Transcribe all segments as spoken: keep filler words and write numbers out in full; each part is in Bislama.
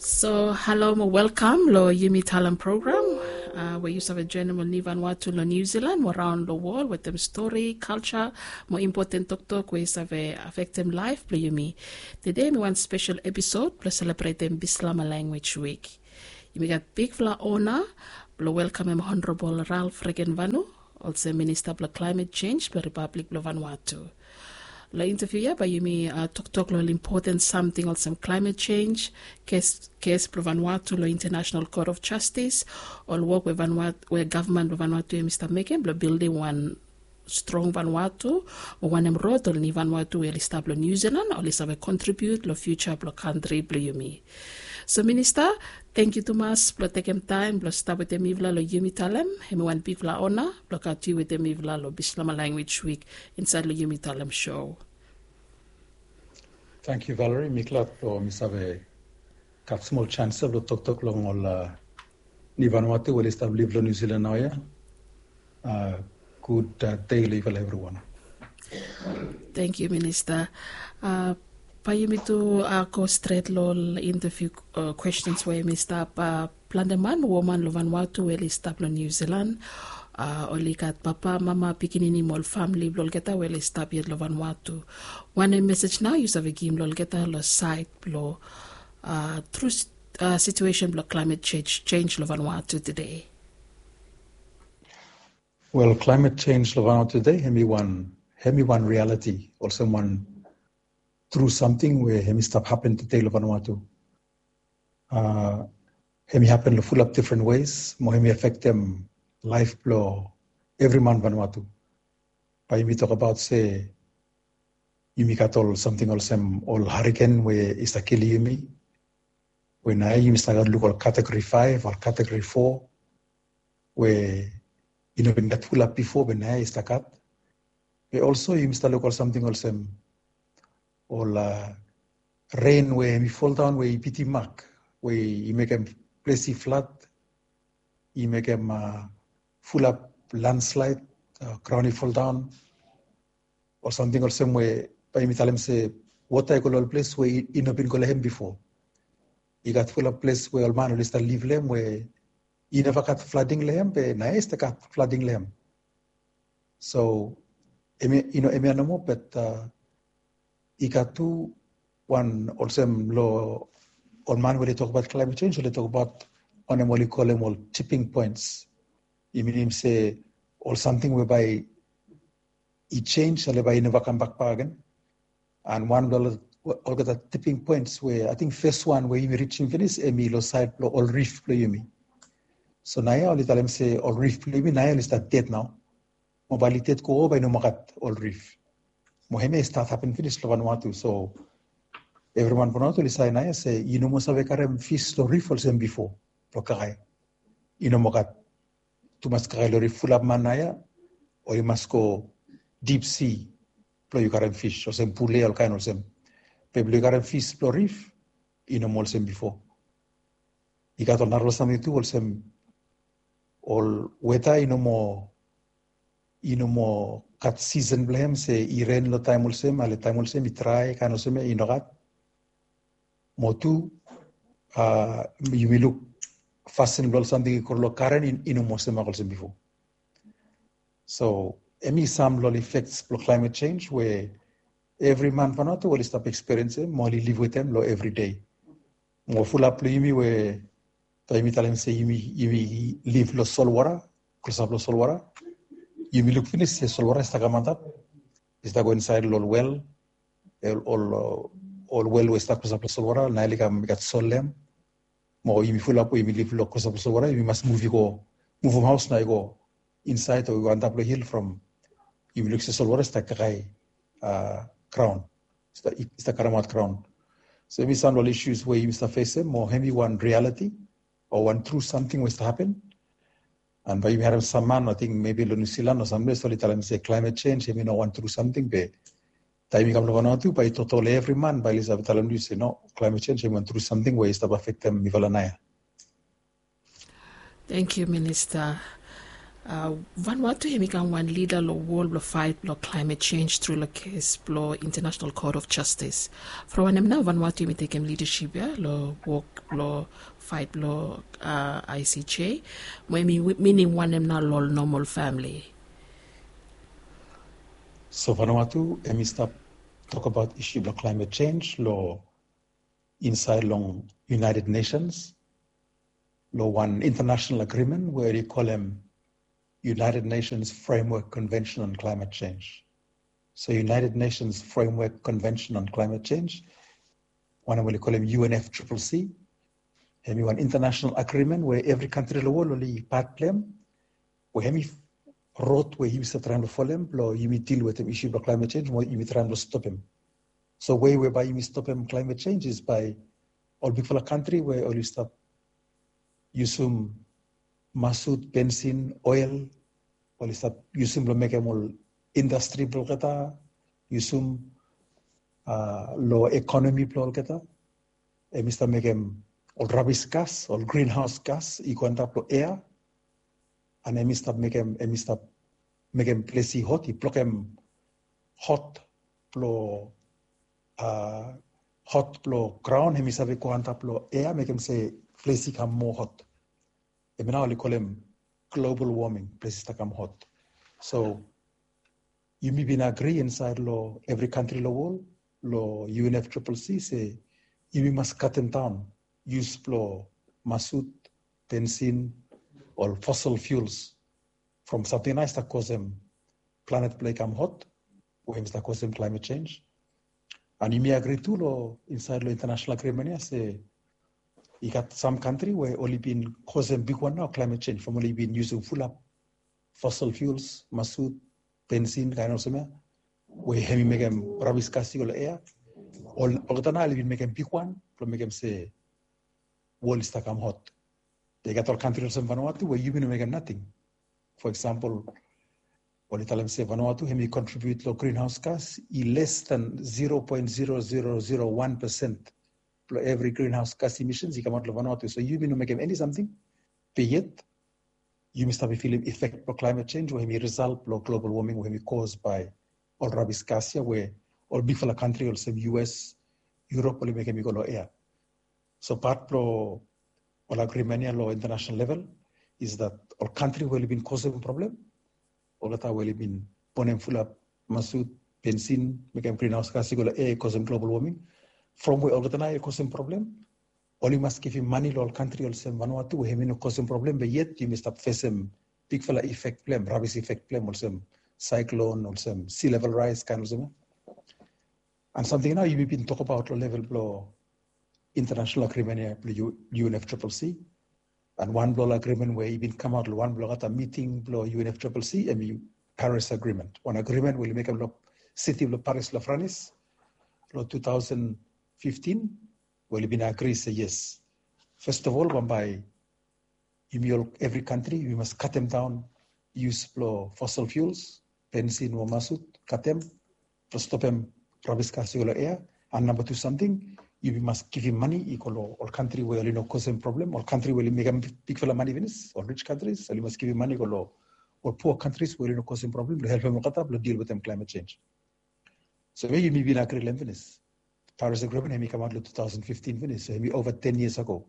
So halo mo welkam lo Yumi Talem program, we yu save joenem ol ni Vanuatu lo New Zealand mo raon lo wol wetem stori, kalja mo impoten toktok we i save afektem laef blo yumi. Tede mi wan spesel episod blo selebretem Bislama Language Week. Yumi gat bigfala ona blo welkamem Honorabol Ralph Regenvanu olsem Minista blo Klaemet Jenj blo Ripablik blo Vanuatu. Lo inteviu ya bae yumi toktok lo ol impoten samting olsem klaemet jenj, kes blo Vanuatu lo International Court of Justice, ol wok we gavman blo Vanuatu hemi stap mekem blo bildim wan strong Vanuatu, mo wanem rod ol ni Vanuatu we oli stap lo New Zealand oli save kontribiut lo fiuja blo kantri blo yumi. So Minista, tangkiu tumas blo tekem taem blo stap wetem mifala lo Yumi Talem. Hemi wan bigfala ona blo gat yu wetem mifala lo Bislama Language Week insaed lo Yumi Talem sou. Tangkiu Valerie, mi glad blo mi save gat smol janis ya blo toktok long ol ni Vanuatu we oli stap liv lo New Zealand naoia. Gud dei lo yufala evriwan. Tangkiu Minista. Bae yumi tu go stret lo ol inteviu kwestens we hemi stap. Plante man, woman lo Vanuatu we oli stap lo New Zealand, oli gat papa, mama, pikinini mo ol famili blo olgeta we oli stap yet lo Vanuatu. Wanem mesej nao yu save givim lo olgeta lo saed blo tru situesen blo klaemet jenj lo Vanuatu tede? Wel, klaemet jenj lo Vanuatu tede hemi wan, hemi wan rialiti olsem wan tru samting we hemi stap hapen tede lo Vanuatu. Hemi hapen lo fulap difren wes mo hemi afektem laef blo evri man Vanuatu. Bae yumi tokbaot se yumi gat ol samting olsem ol hariken we i stap kilim yumi, we naoia yumi stap gat luk ol kategori faef, ol kategori fo, we i no bin gat fulap bifo be naoia i stap gat. Be olso yumi stap luk ol samting olsem ol ren we hemi foldaon we i bitim mak, we i mekem ples i flat, i mekem fulap landslaed, graon i foldaon, ol samting olsem we bae yumi talem se wota i go lo ol ples we i no bin go lo hem bifo. I gat fulap ples we ol man oli stap liv lo hem we i neva gat flading lo hem be naoia i stap gat flading lo hem. So hemia, yu no, hemia nomo, bat i gat tu wan olsem lo ol man we oli tokbaot klaemet jenj, oli tokbaot wanem oli kolem ol tiping poens. I minim se ol samting we bae i jenj, ale bae i neva kambak bakegen. And wan blo olgeta tiping poens we ating fes wan we yumi rijim finis hemi lo saed blo ol rif blo yumi. So naoia oli talem se ol rif blo yumi naoia oli stap ded nao. Mo bae oli ded go, bae i no moa gat ol rif. Mo hemia i stat hapen finis lo Vanuatu. So evriman Vanuatu oli save naoia se i no moa save karem fis lo rif olsem bifo blo kakae. I no moa gat tumas kakae lo rif, fulap man naoia oli mas go dip si blo yu karem fis olsem pule, olkaen olsem. Be blo yu karem fis blo rif i no moa olsem bifo. I gat ol narafala samting tu olsem ol weta i no moa, i no moa gat sisen blo hem se i ren lo taem olsem, ale taem olsem i drae, kaen olsem ya i no gat. Mo tu yumi luk fasin blo ol samting i kro lo garen i no moa olsem mak olsem bifo. So hemi sam lo ol ifeks blo klaemet jenj we evri man Vanuatu oli stap ekspiriensim mo oli liv wetem lo evri dei. Mo fulap lo yumi we bae yumi talem se yumi, yumi liv lo solwota, klosap lo solwota. Yumi luk finis se solwota i stap kam antap, i stap go insaed lo ol wel, ol, ol wel we i stap klosap lo solwota, naoia oli kam i gat sol lo hem. Mo yumi fulap we yumi liv lo klosap lo solwota, yumi mas muv i go, muvum haos nao i go insaed o i go antap lo hil from yumi luk se solwota i stap kakae graon, i stap karemaot graon. So hemi sam lo ol isus we yumi stap fesem mo hemi wan rialiti o wan tru samting we i stap hapen. And bae yumi harem sam man, ating mebi lo New Zealand o samples oli talem se klaemet jenj hemi no wan tru samting, be taem i kam lo Vanuatu bae i toto lo evri man bae oli save talem lo yu se no, klaemet jenj hemi wan tru samting we i stap afektem mifala naoia. Tangkiu Minista. Vanuatu hemi kam wan lida long wol blong fait blong climate change tru long kes blong International Court of Justice. From wanem nao Vanuatu hemi tekem lidaship ya long wok blong fait blong ICJ? Mo hemi minim wanem nao long ol normal famili? So Vanuatu hemi stap tokbaot isu blong climate change long insaed long United Nations long wan international agreement we oli kolem United Nations Framework Convention on Climate Change. So United Nations Framework Convention on Climate Change, wanem we oli kolem UNFCCC, hemi wan international agreement we evri kantri long wol oli pat blong hem, we hemi rod we yumi save traem blong folem blong yumi dil wetem isu blong climate change mo yumi traem blong stopem. So wei we bae yumi stopem climate change is bae ol bigfala kantri we oli stap yusum masut, bensin, oel, oli stap yusum blong mekem ol indastri blong olgeta, yusum long ekonomi blong olgeta, hemi stap mekem ol rabis gas, ol grinhaos gas i go antap long ea, and hemi stap mekem, hemi stap mekem ples i hot, i blokem hot blong hot blong graon, hemi save go antap long ea, mekem se ples i kam moa hot. Hemi nao oli kolem global warming, ples i stap kam hot. So yumi bin agri insaed long evri kantri long wol long UNFCCC se yumi mas katem daon yus blong masut, bensin, ol fossil fuels from samting nao i stap kosem planet blong i kam hot, we hemi stap kosem climate change. And yumi agri tu long insaed long international agreement ya se i gat sam kantri we oli bin kosem bigwan nao climate change from oli bin yusum fulap fossil fuels, masut, bensin, kaen olsem ya, we hemi mekem rabis gas i go long ea. Olgeta nao oli bin mekem bigwan blong mekem se wol i stap kam hot. Be i gat ol kantri olsem Vanuatu we yumi no mekem nating. For example, oli talem se Vanuatu hemi contribute long greenhouse gas i less than zero point zero zero zero one percent blong evri greenhouse gas emissions i kamaot long Vanuatu. So yumi no mekem eni samting. Be yet yumi stap filim effect blong climate change we hemi result blong global warming we hemi cause by ol rabis gas ya we ol bigfala kantri olsem US, Europe oli mekem i go long ea. So pat blong ol agreement ya long international level is that ol kantri we oli bin kosem problem, olgeta we oli bin bonem fulap masut, bensin, mekem greenhouse gas i go long ea, kosem global warming, from we olgeta nao i kosem problem, oli mas givim mane long ol kantri olsem Vanuatu we hemi no kosem problem, be yet yumi stap fesem bigfala effect blong hem, rabis effect blong hem, olsem cyclone, olsem sea level rise, kaen olsem ya. And samting nao yumi bin tokbaot long level blong international agreement ya blong UNFCCC. And wan blong ol agreement we i bin kamaot long wan blong olgeta miting blong UNFCCC hemi Paris Agreement. Wan agreement we oli mekem long siti blong Paris long France long two thousand fifteen, we oli bin agri se yes, first of all bambae yumi ol evri kantri yumi mas katem daon yus blong fossil fuels, bensin o masut, katem, blong stopem rabis gas i go long ea. And namba tu samting, yumi mas givim mane i go long ol kantri we oli no kosem problem, ol kantri we oli mekem bigfala mane finis, ol rich countries, oli mas givim mane i go long ol pua kantris we oli no kosem problem blong helpem olgeta blong dil wetem climate change. So we yumi bin agri long hem finis. Paris Agreement hemi kamaot long two thousand fifteen finis, so hemi ova ten years ago.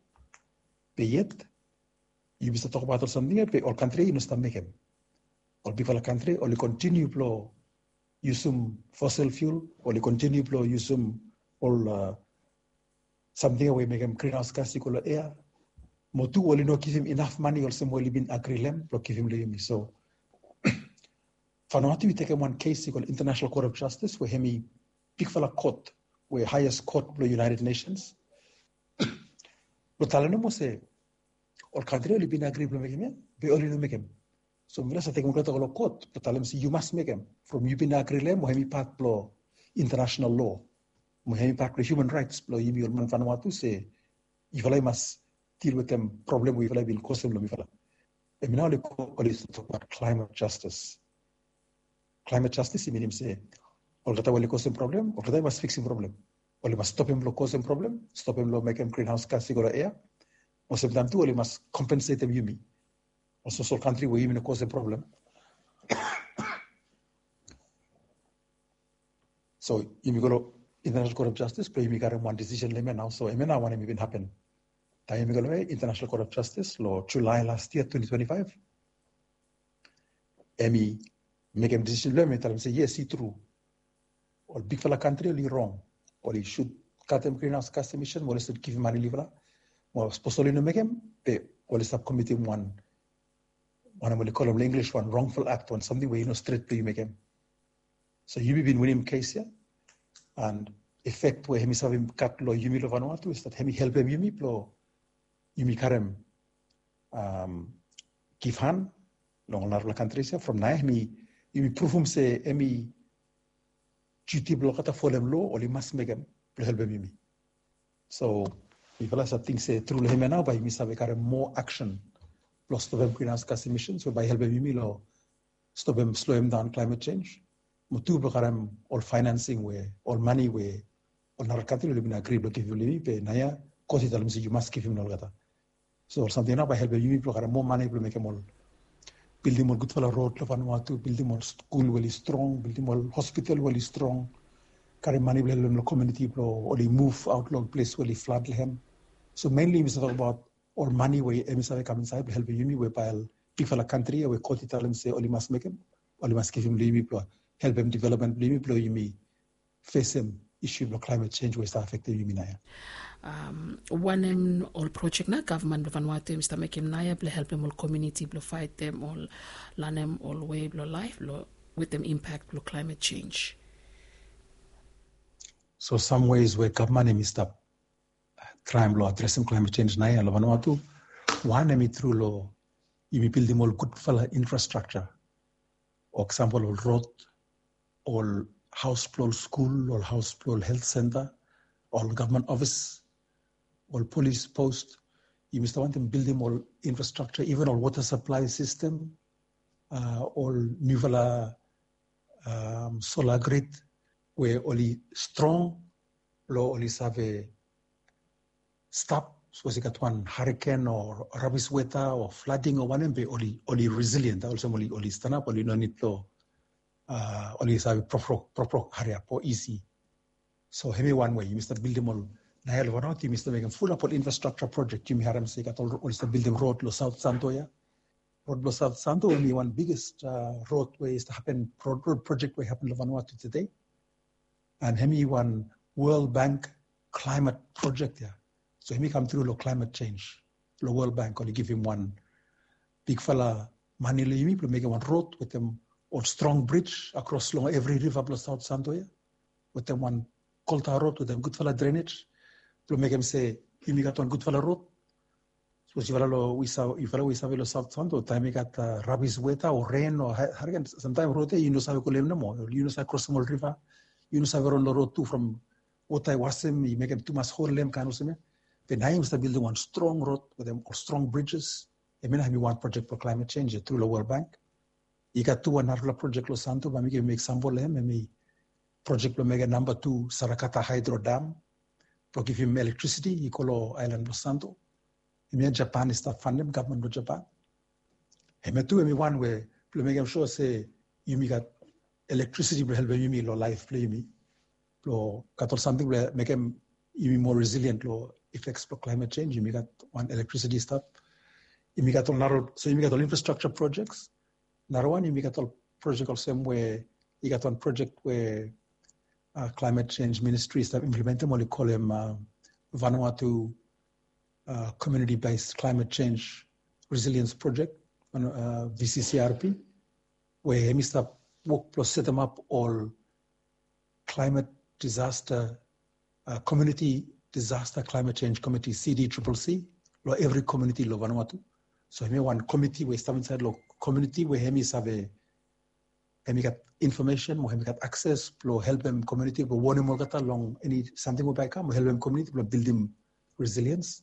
Be yet yumi stap tokbaot ol samting ya be ol kantri ya i no stap mekem. Ol bigfala kantri oli kontiniu blong yusum fossil fuel, oli kontiniu blong yusum ol samting ya we i mekem greenhouse gas i go long ea. Mo tu oli no givim inaf mane olsem we oli bin agri long hem blong givim long yumi. So Vanuatu i tekem wan case i go long International Court of Justice we hemi bigfala court we highest court blong United Nations blong talem nomo se ol kantri oli bin agri blong mekem ya be oli no mekem. So mifala save tekem olgeta go long court blong talem se yu mas mekem from yu bin agri long hem, mo hemi pat blong international law, mo hemi pat blong human rights blong yumi ol man Vanuatu se yufala i mas dil wetem problem we yufala i bin kosem long mifala. Hemi nao oli tokbaot climate justice. Climate justice i minim se olgeta we oli kosem problem, olgeta i mas fiksim problem. Oli mas stopem long kosem problem, stopem long mekem greenhouse gas i go long ea. Mo semtaem tu oli mas kompensetem yumi. Ol soso ol kantri we yumi no kosem problem. So yumi go long International Court of Justice blong yumi karem wan decision long hemia nao. So hemia nao wanem i bin hapen. Taem yumi go long International Court of Justice long July last year twenty twenty-five, hemi mekem decision blong hemi talem se yes, i tru. Ol bigfala kantri oli rong. Oli sud katem greenhouse gas emission, oli sud givim mane long yufala. Mo sapos oli no mekem, be oli stap komitim wan, wanem oli kolem long English, wan wrongful act, wan samting we i no stret blong yu mekem. So yumi bin winim kes ya, and effect we hemi save gat long yumi long Vanuatu is that hemi helpem yumi blong yumi karem, um, givhan long ol narafala kantris ya. From naoia hemi, yumi pruvum se hemi duti blong olgeta folem loa, oli mas mekem blong helpem yumi. So mifala save ting se tru long hemia nao bae yumi save karem moa aksen blong stopem greenhouse gas emissions we bae helpem yumi long stopem, sloem daon climate change. Mo tu blong karem ol financing we, ol mane we ol narafala kantri oli bin agri blong givim long yumi, be naoia kot i talem se yu mas givim long olgeta. So ol samting ya nao bae helpem yumi blong karem moa mane blong mekem ol, bildim ol gudfala rod long Vanuatu, bildim ol skul we oli strong, bildim ol hospital we oli strong, karem mane blong helpem long komuniti blong oli muv aot long ol ples we oli flad long hem. So mainly yumi save tokbaot ol mane we hemi save kam insaed blong helpem yumi, we bae ol bigfala kantri ya we kot i talem se oli mas mekem, oli mas givim long yumi blong helpem development blong yumi, blong yumi fesem isu blong climate change we i stap afektem yumi naoia. Um, wanem ol projek nao gavman blong Vanuatu hemi stap mekem naoia blong helpem ol komuniti blong faetem ol, lanem ol wei blong laef blong wetem impact blong climate change? So some ways we gavman hemi stap traem blong adresem climate change naoia long Vanuatu. Wan hemi tru long yumi bildim ol gudfala infrastructure. Eksampol, ol rod, ol haos blong ol skul, ol haos blong ol health center, ol gavman ofis, ol polis post. Yumi stap wantem bildim ol infrastructure, even ol water supply system, uh, ol niufala, um, solar grid we oli strong blong oli save stap, sapos i gat wan hurricane o rabis weta o flooding o wanem, be oli, oli resilient, olsem oli, oli stanap, oli no nid blong, uh, oli save proprok, proprok hariap o isi. So hemi wan wei yumi stap bildim ol, naoia long Vanuatu yumi stap mekem fulap ol infrastructure project. Yumi harem se i gat ol, oli stap bildim rod long South Santo ya. Rod blong South Santo hemi wan biggest, uh, rod we i stap hapen, rod, rod project we i hapen long Vanuatu tede. And hemi wan World Bank climate project ya. So hemi kam tru long climate change. Long World Bank oli givim wan bigfala mane long yumi blong mekem wan rod wetem ol strong bridge akros long evri riva blong South Santo ya, wetem wan kolta rod wetem gudfala drainage blong mekem se yumi gat wan gudfala rod. Sapos yufala long, we sa-, yufala we i save long South Santo, taem i gat, uh, rabis weta o ren o ha-, hurricane, samtaem rod ya yu no save go long hem nomo, yu no save krosem ol riva, yu no save ron long rod tu from wota i wasem, i mekem tumas hol long hem, kaen olsem ya. Be naoia yumi stap bildim wan strong rod wetem ol strong bridges. Hemia nao hemi wan project blong climate change ya tru long World Bank. I gat tu wan narafala project long Santo, bae mi givim eksampol long hem, hemi project blong mekem namba tu Sarakata Hydro Dam blong givim electricity i go long aelan blong Santo. Hemia Japan i stap fanem, gavman blong Japan. Hemia tu hemi wan we blong mekem sua se yumi gat electricity blong helpem yumi long laef blong yumi, blong gat ol samting blong mekem yumi moa resilient long effects blong climate change. Yumi gat wan electricity i stap. Yumi gat ol nara, so yumi gat ol infrastructure projects. Narawan yumi gat ol project olsem we i gat wan project we, uh, climate change ministry i stap implementem, oli kolem, uh, Vanuatu, uh, Community Based Climate Change Resilience Project, uh, V C C R P, we hemi stap wok blong setemap ol climate disaster, uh, community disaster climate change committee, C D triple C, long evri komuniti long Vanuatu. So hemi wan komiti we i stap insaed long komuniti we hemi save, hemi gat infomesen o hemi gat akses blong helpem komuniti blong wonem olgeta long eni samting we bae i kam, o helpem komuniti blong bildim resilience.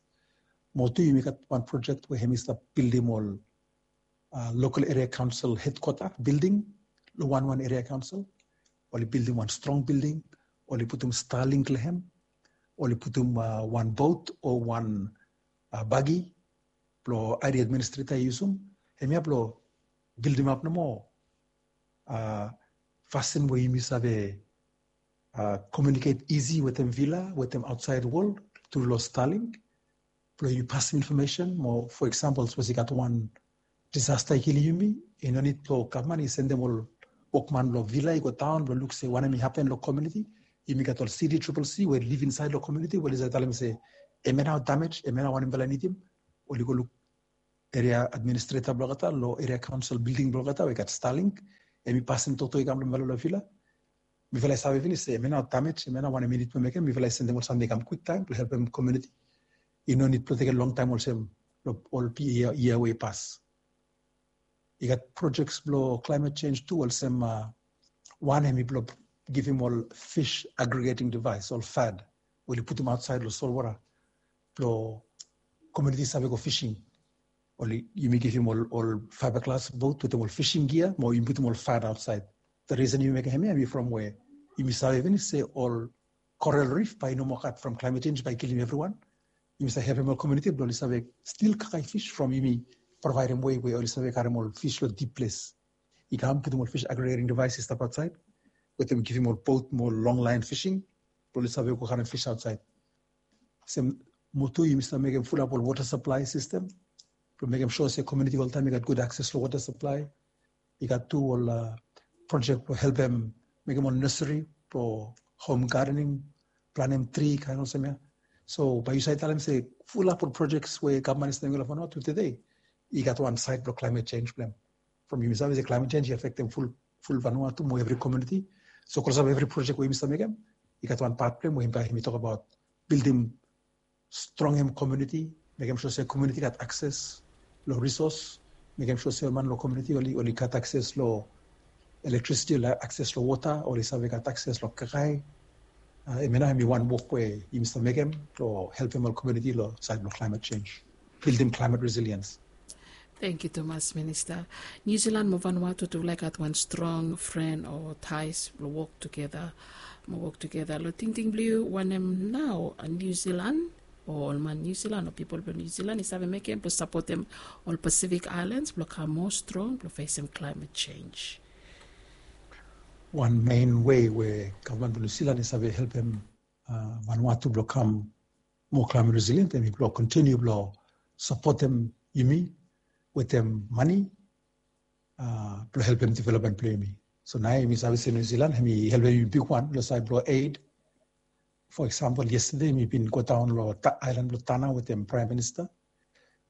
Mo tu yumi gat wan project we hemi stap bildim ol, uh, local area council headquarter building long wan wan area council. Oli bildim wan strong building, oli putum Starlink long hem, oli putum, uh, wan boat o wan, uh, buggy blong area administrator i yusum. hemia blong bildimap nomo fasin we yumi save komiuniket isi wetem vila, wetem aotsaed wol tru long Starlink blong yumi pasim infomesen. Mo fo eksampol, sapos i gat wan disasta i kilim yumi, i no nid blong gavman i sendem ol wokman blong vila i go daon blong luk se wanem i hapen long komuniti. Yumi gat ol city triple C we liv insaed long komuniti we oli save talem se hemia nao damej, hemia nao wanem yufala nidim. Oli go luk eria administreta blong olgeta long eria kaonsel bilding blong olgeta we i gat Starlink. Hemi pasim toktok i kam long mifala long vila. Mifala i save finis se hemia nao damej, hemia nao wanem i nid blong mekem. Mifala i sendem ol samting i kam kwiktaem blong helpem komuniti. I no nid blong tekem longtaem olsem long ol yia we i pas. I gat projek blong climate change tu, olsem wan hemi blong givim ol fish aggregating device, ol FAD, we oli putum aotsaed long solwota blong komuniti save go fishing. Oli, yumi givim ol, ol fiberglass boat wetem ol fishing gear, mo yumi putum ol FAD aotsaed. The reason yumi mekem hemia hemi from we yumi save finis se ol coral reef bae i no moa gat from climate change bae i kilim evriwan. Yumi save helpem ol komuniti blong oli save stil kakae fish from yumi provaedem wei we oli save karem ol fish long dip ples i kam, putum ol fish aggregating device i stap aotsaed wetem givim ol boat mo long line fishing blong oli save go karem fish aotsaed. Olsem mo tu yumi stap mekem fulap ol wota saplae sistem blong mekem sua se komuniti oltaem i gat gud akses long wota saplae. I gat tu ol projek blong helpem mekem ol neseri blong hom gadening, planem tri, kaen olsem ya. So bae yu save talem se fulap ol projek we gavman i stap mekem long Vanuatu tede, i gat wan saed blong climate change blong hem. From yumi save se climate change i afektem ful, ful Vanuatu mo evri komuniti. So klosap evri projek we yumi stap mekem, i gat wan pat blong hem we hemi, hemi tokbaot bildim strongem komuniti, mekem sua se komuniti gat akses long risos, mekem sua se ol man long komuniti oli, oli gat akses long elektrisiti, oli akses long wota, oli save gat akses long kakae. Hemia nao hemi wan wok we yumi stap mekem blong helpem ol komuniti long saed blong climate change, bildim climate resilience. Tangkiu tumas, Minista. Niu Silan mo Vanuatu tufala i gat wan strong fren o taes blong wok tugeta, mo wok tugeta. Long tingting blong yu, wanem nao Niu Silan o ol man Niu Silan o pipol blong Niu Silan i save mekem blong sapotem ol Pacific Islands blong kam moa strong blong fesem climate change? Wan mein wei we gavman blong Niu Silan i save helpem Vanuatu blong kam moa climate resilient, hemi blong kontiniu blong sapotem yumi wetem mane blong helpem development blong yumi. So nao yumi save se Niu Silan hemi helpem yumi bigwan long saed blong aid. Fo eksampol, yestede mi bin go daon long aelan blong Tanna wetem Praem Minista.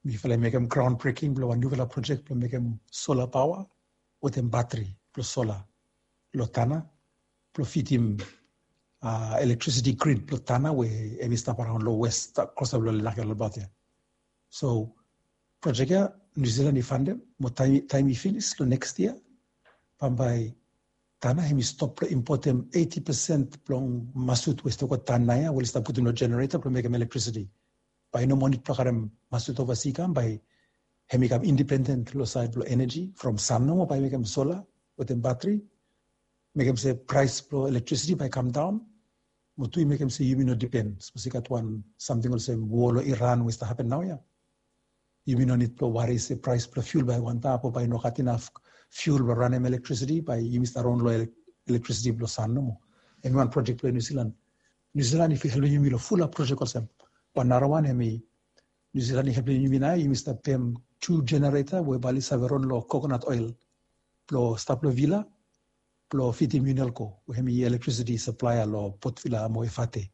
Mifala i mekem graon breking blong wan niufala projek blong mekem sola paoa wetem batri blong sola long Tanna blong fidim elektrisiti grid blong Tanna we hemi stap araon long wes, klosap long Lake Albert ya. So projek ya Niu Silan i fandem, mo taem i finis long neks yia, bambae Tanna hemi stop blong impotem eiti pesen blong masut we i stap go Tanna ya we oli stap putum long jenereta blong mekem elektrisiti. Bae i no moa nid blong karem masut ovasi i kam, bae hemi kam independen long saed blong eneji from san nomo, bae i mekem sola wetem batri, mekem se praes blong elektrisiti bae i kam daon. Mo tu i mekem se yumi no dipen. Sapos i gat wan samting olsem wo long Iran we i stap hapen naoia, yumi no nid blong wari se praes blong fiul bae i go antap o bae i no gat inaf fiul blong ranem elektrisiti, bae yumi stap ron long elektrisiti blong san nomo. Hemi wan projek blong Niu Silan. Niu Silan i helpem yumi long fulap projek olsem. Wan narawan hemi Niu Silan i helpem yumi nao, yumi stap pem tu jenereta we bae oli save ron long kokonat oel blong stap long vila blong fidim Unelco we hemi elektrisiti saplaea long Port Vila mo Efate.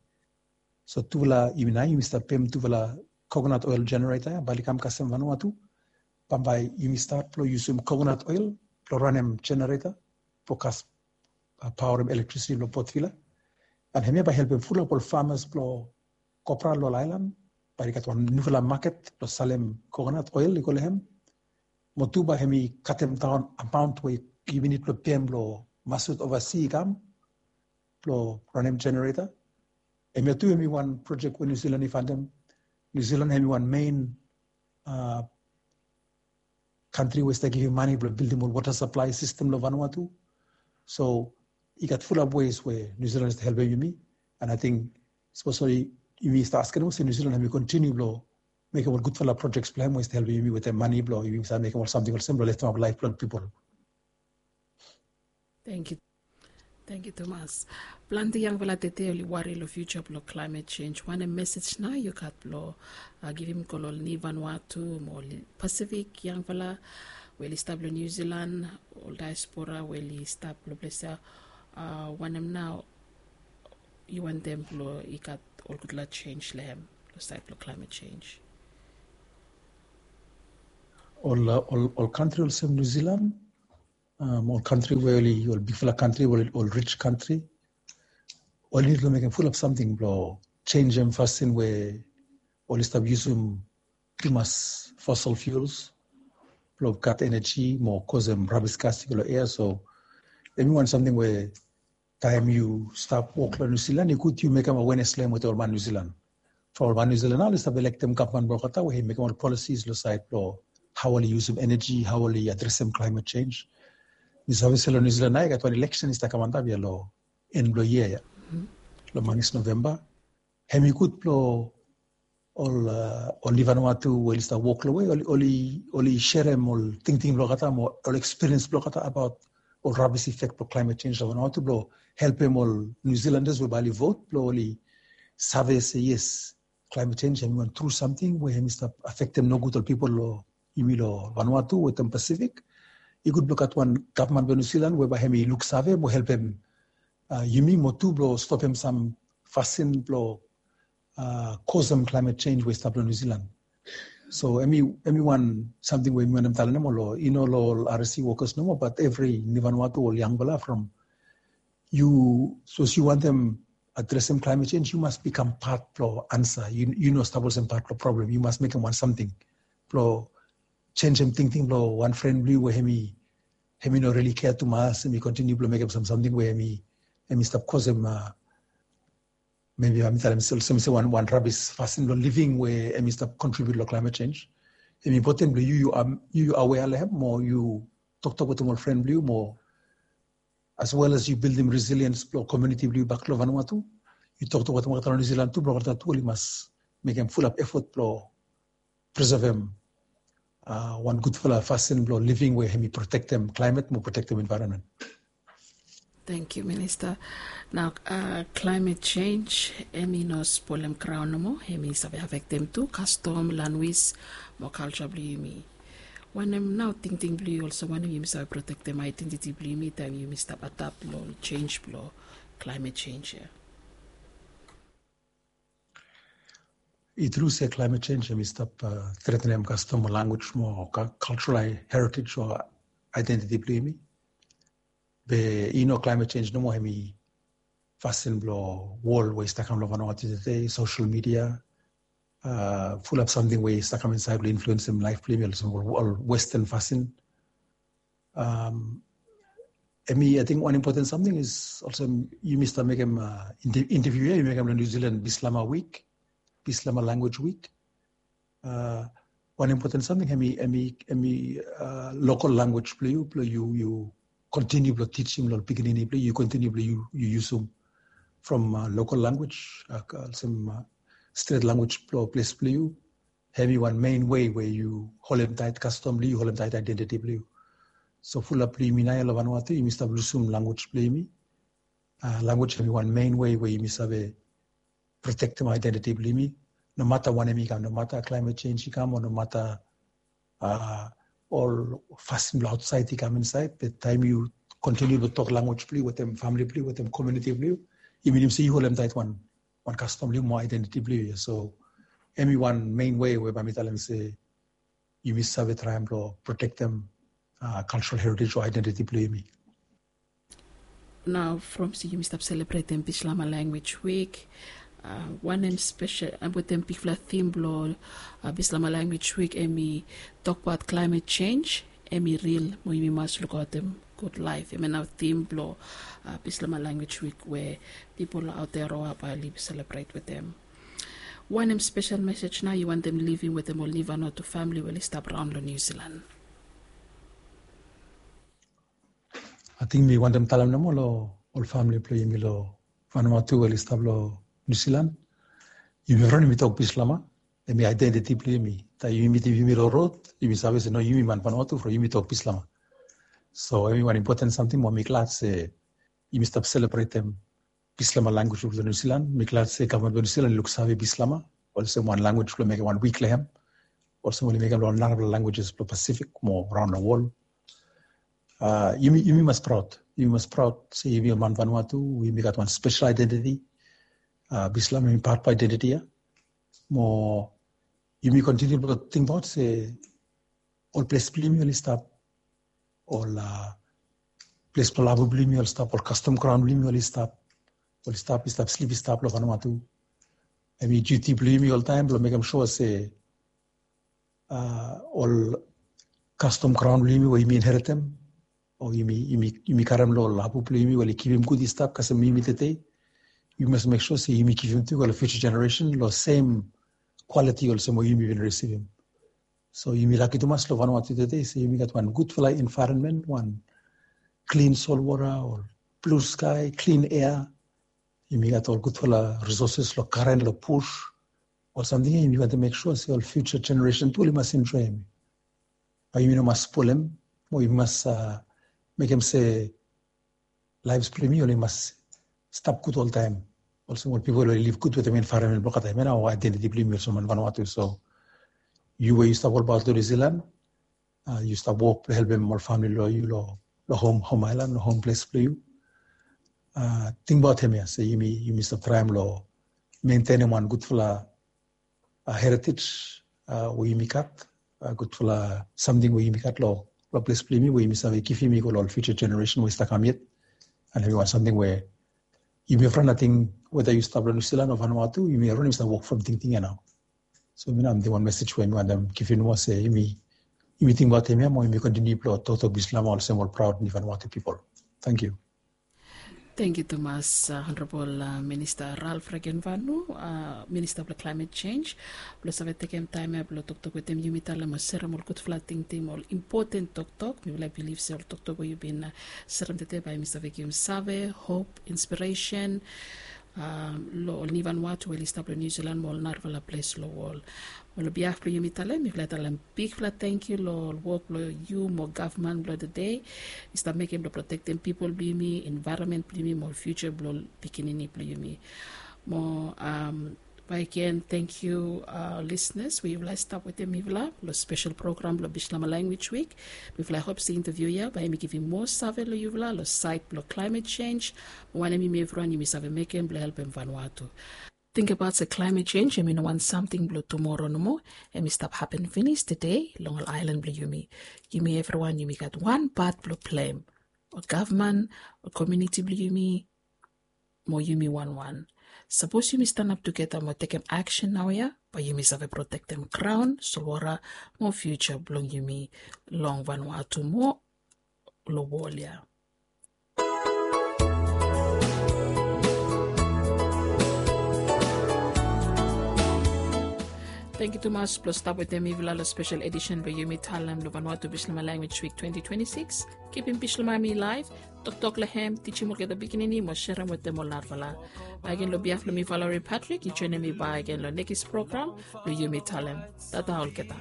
So tufala yumi nao yumi stap pem tufala kokonat oel jenereta ya bae oli kam kasem Vanuatu. Bambae yumi stat blong yusum kokonat oel blong ranem jenereta blong kas paorem elektrisiti long Port Vila. An hemia bae helpem fulap ol famas blong kopra long ol aelan, bae oli gat wan niufala maket blong salem kokonat oel i go long hem. Mo tu bae hemi katem daon amaon we yumi nid blong pem blong masut ovasi i kam blong ranem jenereta. Hemia tu hemi wan projek we Niu Silan i fandem. Niu Silan hemi wan mein kantri we i stap givim mane blong bildim ol wota saplae sistem long Vanuatu. So i gat fulap wes we Niu Silan i stap helpem yumi. An ating sapos oli, yumi stap askem olsem Niu Silan hemi kontiniu blong mekem ol gudfala projects blong hem we i stap helpem yumi wetem mane blong yumi save mekem ol samting olsem blong leftemap laef blong pipol. Thank you. Thank you, Thomas. Planti yangfala tete oli wari long future blong climate change. Wanem message nao yu gat blong uh, givim go long ol Ni Vanuatu mo ol Pacific yangfala we oli stap long New Zealand, ol diaspora we oli stap long ples ya. Uh, wanem nao yu wantem blong i gat ol gudfala change long hem long sait blong climate change? Ol uh, ol ol kantri olsem New Zealand, um, ol kantri we oli ol bigfala kantri, ol ol rich kantri, oli nid long mekem fulap samting blong changem fasin we oli stap yusum tumas fossil fuels blong gat energy mo kosem rabis gas i go long ea. So hemi wan samting we taem yu stap wok long New Zealand, i gud yu mekem awenes long hem wetem ol man New Zealand. From ol man New Zealand nao oli stap elektem gavman blong olgeta we i mekem ol policies long sait blong hao oli yusum energy, hao oli adresem climate change. Mi save se long New Zealand nao i gat wan eleksen i stap kam antap ya long en blong yia ya, long manis Novemba. Hemi gud blong ol uh, ol Ni Vanuatu we oli stap wok long we oli oli oli serem ol tingting blong olgeta mo ol experience blong olgeta abaot ol rabis effect blong climate change long Vanuatu blong helpem ol New Zealanders we bae oli vote blong oli save se yes, climate change hemi wan tru samting we hemi stap afektem nogud ol pipol long yumi long Vanuatu wetem Pacific. I gud blong gat wan gavman blong New Zealand we bae hemi luksave mo helpem uh, yumi mo tu blong stopem sam fasin blong uh, kosem climate change we i stap long New Zealand. So hemi hemi wan samting we mi wantem talem nomo long i no long ol R S C workers nomo, but evri Ni Vanuatu ol yangfala from yu, sapos yu wantem adresem climate change, yu mas bikam pat blong ansa. Yu yu no stap olsem pat blong problem. Yu mas mekem wan samting blong jenjem tingting blong wan fren blong yu we hemi hemi no rili kea tumas, hemi kontiniu blong mekem sam samting we hemi hemi stap kosem uh, maybe hemi talem olsem se wan wan rabis fasin blong living we hemi stap kontribiut long climate change. Hemi impoten blong yu yu am yu yu awea long hem mo yu toktok wetem ol fren blong yu mo as well as yu bildim resilience blong komuniti blong yu bak long Vanuatu, yu toktok wetem olgeta long New Zealand tu blong olgeta tu oli mas mekem fulap efot blong preservem uh, wan gudfala fasin blong living we hemi protektem climate mo protektem environment. Thank you, Minister. Now, uh, climate change, hemi no spolem crown nomo, hemi save affectem tu custom, language, mo culture blong yumi. Wanem nao tingting blong yu olsem wanem yumi save protektem identity blong yumi taem yumi stap adapt long change blong climate change ya? I tru se climate change hemi stap uh, threatenem custom o language mo cultural heritage o identity blong yumi. Be i no climate change nomo, hemi fasin blong wol we i stap kam long Vanuatu tede, social media, uh, fulap samting we i stap kam insaed blong influensem laef blong yumi olsem ol western fasin. Um, hemi ating wan impoten samting is olsem yumi stap mekem uh, interview ya yu mekem long New Zealand Bislama Week, Bislama Language Week. Uh, wan impoten samting hemi hemi hemi uh, local language blong yu blong yu yu kontiniu blong tijim long ol pikinini blong yu, yu kontiniu blong yu yu yusum from uh, local language uh, olsem uh, stret language blong ples blong yu. Hemi wan main wei we yu holem taet kastom blong yu, yu holem taet aedentiti blong yu. So fulap blong yumi naoia long Vanuatu yumi stap lusum language blong yumi. Uh, language hemi wan main wei we yumi save protektem aedentiti blong yumi. Nomata wanem i kam, nomata climate change i kam o nomata uh, ol fasin blong aotsaed i kam insaed, be taem yu kontiniu blong tok language blong yu wetem famili blong yu, wetem komuniti blong yu, yu minim se yu holem taet wan wan kastom blong yu mo aedentiti blong yu. So hemi wan main wei we bae mi talem se yumi save traem blong protektem uh, cultural heritage o aedentiti blong yumi. Nao from se yumi stap selebretem Bislama Language Week, uh, wanem spesel uh, wetem bigfala tim blong uh, Bislama Language Week hemi tokbaot climate change, hemi ril mo yumi mas lukaotem gud laef. Hemia nao tim blong uh, Bislama Language Week we pipol aot ya Aroa bae oli selebret wetem. Wanem spesel mesej nao yu wantem livim wetem ol Ni Vanuatu famili we oli stap raon long Niu Silan? Ating mi wantem talem nomo long ol famili blong yumi long Vanuatu we oli stap long Niu Silan. Yumi evriwan yumi tok Bislama. Hemi aedentiti blong yumi. Taem yumi mitim yumi long rod, yumi save se no yumi man Vanuatu from yumi tok Bislama. So hemi wan impoten samting mo mi glad se yumi stap selebretem Bislama language blong New Zealand. Mi glad se gavman blong New Zealand i luksave Bislama olsem wan language blong mekem wan wik long hem. Olsem oli mekem long narafala languages blong Pacific mo raon long wol. Uh, yumi, yumi mas praod. Yumi mas praod se yumi ol man Vanuatu, yumi gat wan spesel aedentiti. Uh, Bislama hemi pat blong aedentiti ya. Mo yumi kontiniu blong tingbaot se ol ples blong yumi oli stap, ol uh, ples blong lavu blong yumi oli stap, ol kastom graon blong yumi oli stap, oli stap, i stap slip, i stap long Vanuatu. Hemi duti blong yumi oltaem blong mekem sua se uh, ol kastom graon blong yumi we yumi inheritem o yumi, yumi, yumi karem long lavu blong yumi we oli kipim gud i stap kasem yumi tede. Yumi mas mek sua se yumi givim tu go long future generation long sem quality olsem we yumi bin risivim. So yumi laki tumas long Vanuatu tede se yumi gat wan gudfala environment, wan klin solwota o blue sky, klin air. Yumi gat ol gudfala resources long garen, long bush. Ol samting ya yumi wantem mek sua se ol future generation tu oli mas enjoem. Bae yumi no mas spolem mo yumi mas uh, mekem se laef blong yumi oli mas stap gud oltaem. Olsem ol pipol oli liv gud wetem envaeronmen blong olgeta taem ya nao, aedentiti blong yumi olsem man Vanuatu. So yu we yu stap olbaot long New Zealand, uh, yu stap wok blong helpem ol famili blong yu long, long hom, hom aelan, long hom ples blong yu. Uh, tingbaot hemia se yumi, yumi stap traem long mentenem wan gudfala uh, heritage uh, we yumi gat, uh, gudfala samting we yumi gat long, long ples blong yumi we yumi save givim i go long ol future generation we i stap kam yet. And hemi wan samting we yumi evriwan, ating weda yu stap long New Zealand o Vanuatu, yumi evriwan yumi stap wok from tingting ya nao. So mi nao mi ting wan mesej we mi wantem givim nomo se yumi, yumi tingbaot hemia mo yumi kontiniu blong toktok Bislama olsem ol praod ni Vanuatu pipol. Tangkiu. Tangkiu tumas, uh, Honorable uh, Minista Ralph Regenvanu, uh, Minista blong Climate Change, blong save tekem taem ya blong toktok wetem yumi talem o serem ol gudfala tingting, ol impoten toktok. Mifala i bilif se ol toktok we yu bin uh, serem tede bae yumi save givim save, hop, inspiresen, um, long ol ni Vanuatu we oli stap long New Zealand mo ol narafala ples long wol. Mo long biaf blong yumi talem, mifala i talem bigfala tangkiu long ol wok blong yu mo gavman blong tede i stap mekem blong protektem pipol blong yumi, envaeronmen blong yumi mo future blong pikinini blong yumi. Mo um, bae gen tangkiu uh, listeners we yufala i stap wetem mifala long spesel program blong Bislama Language Week. Mifala i hop se interview ya bae yumi givim moa save long yufala long saed blong climate change, wanem yumi evriwan yumi save mekem blong helpem Vanuatu. Tingbaot se climate change hemi no wan samting blong tumoro nomo, hemi stap hapen finis tede long ol aelan blong yumi. Yumi evriwan yumi gat wan pat blong plem. Ol gavman, ol komuniti blong yumi, mo yumi wanwan. Sapos yumi stanap tugeta mo tekem aksen naoia, bae yumi save protektem graon, solwota, mo future blong yumi long Vanuatu mo long wol ya. Tangkiu tumas blong stap wetem mifala long spesel edisen blong Yumi Talem long Vanuatu Bislama Language Week twenty twenty-six. Kipim Bislama mi laef, toktok long hem, tijim olgeta pikinini mo serem wetem ol narafala. Bae gen long biaf blong mi, Valerie Patrick, yu joenem mi bakegen long nekis program blong Yumi Talem. Tata olgeta.